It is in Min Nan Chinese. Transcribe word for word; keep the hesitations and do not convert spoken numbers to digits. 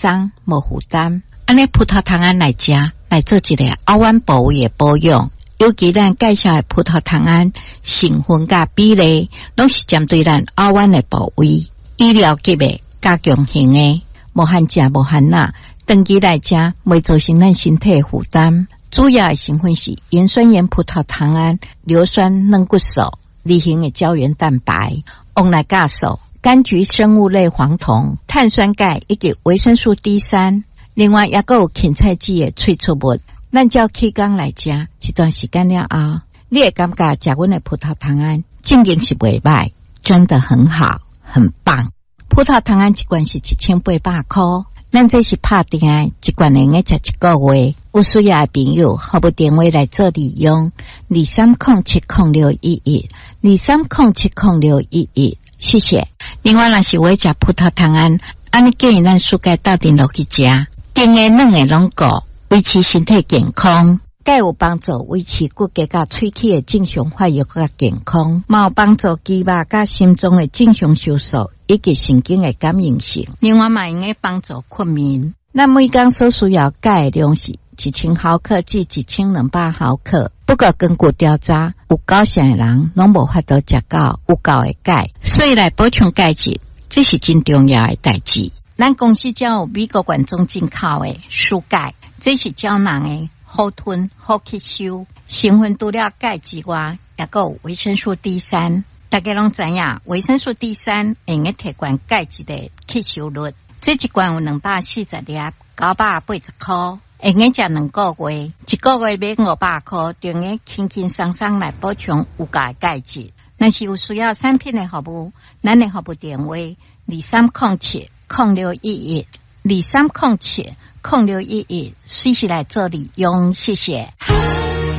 鬆，無負擔。按呢葡萄糖胺來食，來做一個喉彎部位的保養。尤其咱介紹的葡萄糖胺成分佮比例，攏是針對咱喉彎的部位，醫療級的加強型的，無限食無限鈉，長期來食袂造成咱身體的負擔。主要的成分是鹽酸鹽葡萄糖胺、硫酸軟骨素、二型的膠原蛋白、黃奶酵素、柑橘生物類黃酮、碳酸鈣以及維生素 D 三。另外，猶閣有芹菜籽的萃取物。咱照起工來食，一段時間了後，你會感覺食阮的葡萄糖胺正經是袂䆀，真的很好，很棒。葡萄糖胺一罐是一千八百箍，咱這是拍定的，一罐會用食一個月。有需要的朋友，服務電話來做利用：二三空七空六一一，二三空七空六一一。謝謝。另外，若是有愛食葡萄糖胺，按呢建議咱暑假鬥陣落去食，甜的、軟的攏顧，維持身體健康。鈣有幫助維持骨骼佮喙齒的正常發育佮健康，嘛有幫助肌肉佮心臟的正常收縮以及神經的感應性。另外嘛會用幫助睏眠。咱每工所需要鈣的量是一千毫克至一千兩百毫克。不過根據調查，有九成的人攏無法度食到有夠的鈣，所以來補充鈣質，這是真重要的代誌。咱公司才有美國原裝進口的舒鈣，這是膠囊的，好吞好吸收，成分除了鈣之外，猶閣有維生素 D 三。大家攏知影，維生素 D 三會用提懸鈣質的吸收率。這一罐有兩百四十粒，九百八十箍，會用食兩個月，一個月買五百箍，就用輕輕鬆鬆來補充有夠的鈣質。若是有需要產品的服務，咱的服務電話二三空七空六一一二三空七空六一一，隨時來做利用，謝謝。